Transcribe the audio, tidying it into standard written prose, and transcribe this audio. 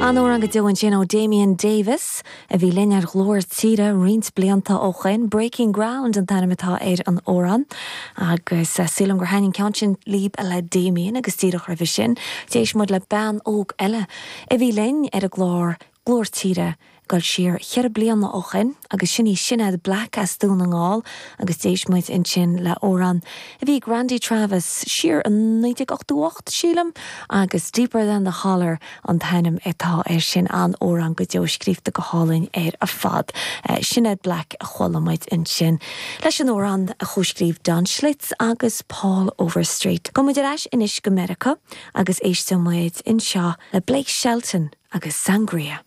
An-amhrán go deo ansin ó Damien Davis, a bhí linn ar Ghlór Tíre roinnt blianta ó shoin. Breaking Ground an t-ainm atá ar an amhrán agus sílim gur thaitin an ceann sin libh le Damien agus díreach roimhe sin d'éist muid le bean óg eile a bhí linn ar an gclár Glór Tíre ag dul siar cheithre bliana ó shoin agus sin í Sinéad Black as Dún na nGall agus d'éist muid ansin le amhrán a bhí ag Randy Travis siar i 1988, sílim, agus Deeper Than The Holler an t-ainm atá air sin, an-amhrán go deo, scríobhta go hálainn ar fad. Sinéad Black a chuala muid ansin leis an amhrán a chomhscríobh Don Schlitz agus Paul Overstreet. Gabhfaidh muid ar ais anois go Meiriceá agus éistfidh muid anseo le Blake Shelton agus Sangria.